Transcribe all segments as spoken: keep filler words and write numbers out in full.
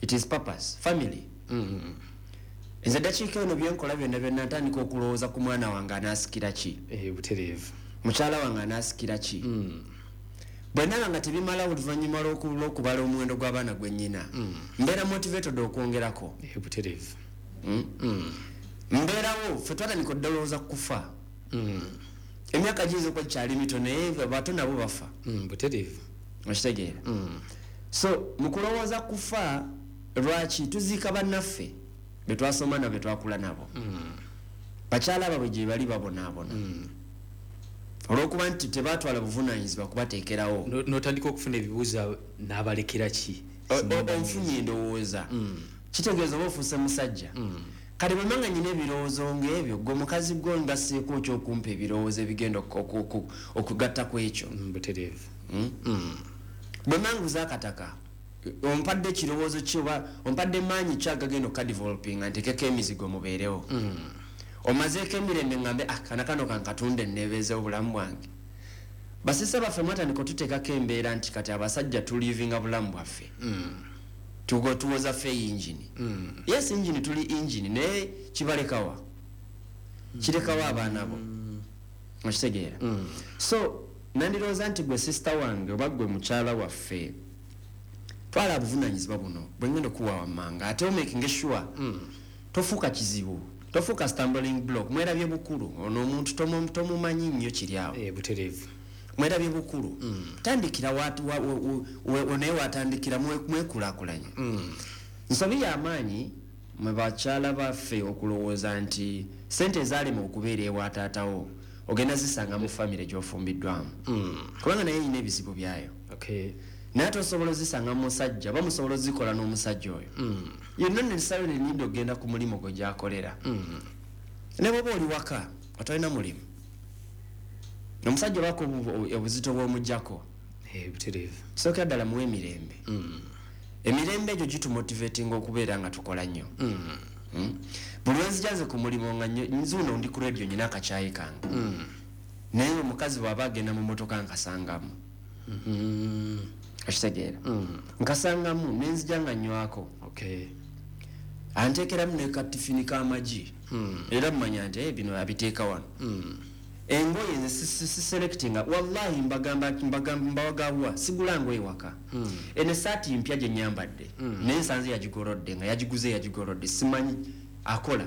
It is purpose, family. Nze dakiika eno byenkola byonna byonna ntandika okulowooza ku mwana wange anaasikira ki, Eh, butereevu. Mukyala wange anaasikira ki. Bwe naba nga tebimala, oluvannyuma lw'oku- lw'okubala omuwendo gw'abaana gwe nnyina, mbeera motivated okwongerako. Eh, butereevu. Mbeerawo ffe twatandika oddalowooza kufa. Emyaka giyinza okuba gikyali mito, naye bato nabo bafa. Mm, butereevu. Okitegeera? So mu kulowooza kufa, lwaki tuziika bannaffe betwasoma nabo, betwakula nabo? Bakyala babwe gye bali babonaabona olwokuba nti tebatwala buvunanyizibwa kubateekerawo. No- notandika okufuna ebibuuzo, n'abalekera ki? O- o- onfunye endowooza, kitegeeza oba ofuuse musajja. Kati bwemba nga nyina ebirowoozo ngaebyo, gwe omukazi gwo ngaseeko okyokumpa ebirowoozo ebigenda oku- oku- oku- okugatta ku ekyo. Mm, butereevu Bwe manguza akataka, ompadde ekirowoozo ki oba ompadde maanyi ki agagenda okukadevelopinga ntekeko emizigo mubeerewo? Omazeeko emirembe ngambe, "Ah, kana kano kankatunde nebeeze obulamu bwange." Basisa baffe mwatandika otuteekako embeera nti kati abasajja tulivinga bulamu bwaffe, tugo tuwoza ffe engine. Yes, engine, tuli engine, naye kibalekawa? Kirekawo abaana bo. Okitegeera? So nandirowooza nti gwe sister wange oba gwe mukyala waffe, twala obuvunanyizibwa buno bwengenda okuwa wammanga, ate omakinge sure tofuuka kizibu, tofuuka stumbling block. Mwerabye bukulu, ono omuntu tomu- tomumanyi nnyo kiri awo. Eh, butereevu. Mwerabye bukulu, tandikira watu- wa- wa- wa- naye watandikira mwe- mwekulaakulanye. Nsobi y'amaanyi mwe bakyala baffe okulowooza nti sente ezaalema okubeera ewa taatawo ogenda zisanga mu famire gy'ofumbiddwamu, kubanga naye yina ebizibu byayo. Okay naye ate osobola ozisanga mu musajja oba musobola ozikola n'omusajja oyo. You don't necessarily need ogenda ku mulimu gwe gyakolera. Ne bwoba oli waka otolina mulimu, omusajja obako obu- obuzito bw'omugjako. Eh, butereevu. Kisookera ddala muwe emirembe. Emirembe egyo gitumotivatinga okubeera nga tukola nnyo. Mm. Buli lwenzija nze ku mulimu nga nnyo- nzuno ndi ku radio, nyina akacyayi kange, naye omukazi bw'aba agenda mu motoka nkasangamu. Okitegeera? Nkasangamu nenzija nga nywako. Okay anteekeramu nekatifini k'amagi, era mumanya nti, "Eh, bino abiteeka wano." Engoye nze si- si- siselectinga, wallahi mbagamba, mbagamba, mbawagawa, sigula ngoye waka. Eno esaati mpya gye nyambadde, naye nsanze yagigolodde nga yagiguze, yagigolodde, simanyi akola,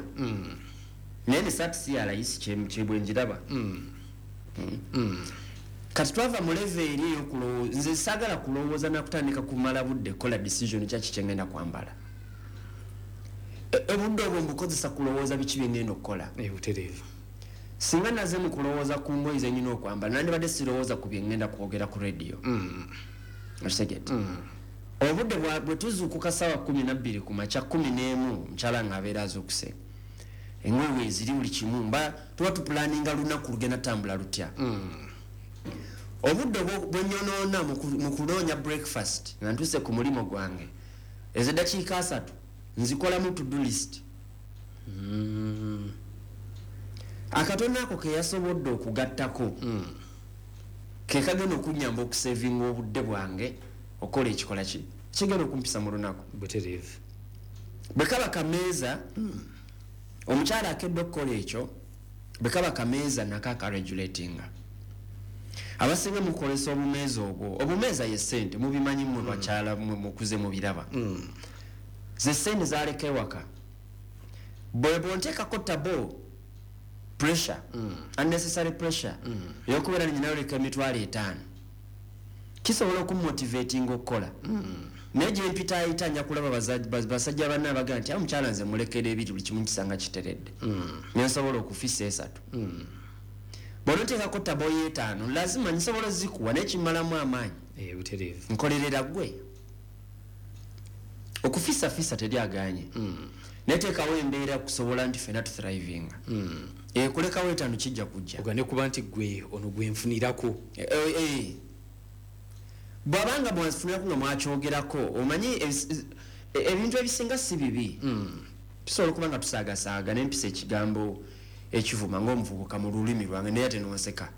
naye nesaati si yalayisi kyebwe njiraba. Kati twava mu level eri eyokulowooza. Nze saagala kulowooza nakutandika kumala budde kukola decision kyaki kyengenda kwambala. E- obudde obwo mbukozesa kulowooza biki byengenda okukola. Eh, butereevu. Singa naze mu kulowooza ku ngoye zenyina okwambala, nandibadde sirowooza ku byengenda kwogera ku radio. Okitegedde? Obudde bwa- bwe tuzuukuka sawa kumi nabbiri ku makya, kumi n'emu, omukyala nga abeera azuukuse, engoye weeziri, buli kimu mba tuba tupulaninga lunaku lugenda tambula lutya. Obudde bwo- bwenyonoona mu ku- mu kunoonya breakfast nga ntuuse ku mulimu gwange, ezo eddakiika asatu nzikolamu to do list. Akatono ako keyasobodde okugattako ke kagenda okunyamba okusevinga obudde bwange okukola ekikola ki kigenda okumpisa mu lunaku. Butereevu. Bwe kaba kameeza, omukyala akedde okukola ekyo, bwe kaba kameeza nako akaregulatinga. Abasinga mukozesa obumeeza obwo. Obumeeza ye sente, mubimanyi mmwe bakyala, mmwe mukuze mubiraba, ze sente zaleka ewaka. Bwe bwonteekako tabo pressure, unnecessary pressure eyokubeera nyina oleka emitwalo etaano, kisobola okumotivatinga okukola, naye gyempitaayita nja kulaba baza- bas- basajja banne abagaa nti, "Ah, omukyala nze mulekera ebiri, buli kimu kisanga kiteredde, nensobola okufisa esatu." Bw'onoteekako tabo y'etaano, lazima nsobola ozikuwa, naye kimalamu amaanyi. Eh, butereevu. Nkolerera gwe okufisafisa teryaganye, naye teekawo embeera kusobola nti fena tuthrivinga. Ekulekawo etaano kijja kujja. Ogane kuba nti gwe ono gwenfunirako. Eh, eh, eh. Bw'abanga mwafunirako nga mwakyogerako, omanyi ebis- eh, ebintu ebisinga si bibi. Tusobola okuba nga tusaagasaaga nempisa ekigambo ekivuma ngaomuvubuka mu lulimi lwange, naye ate nonseka.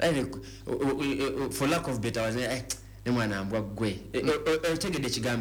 Eh, o- o- o- for lack of better words, eh, ne mwana mbwa gwe. Eh, eh, eh, otegedde ekigambo.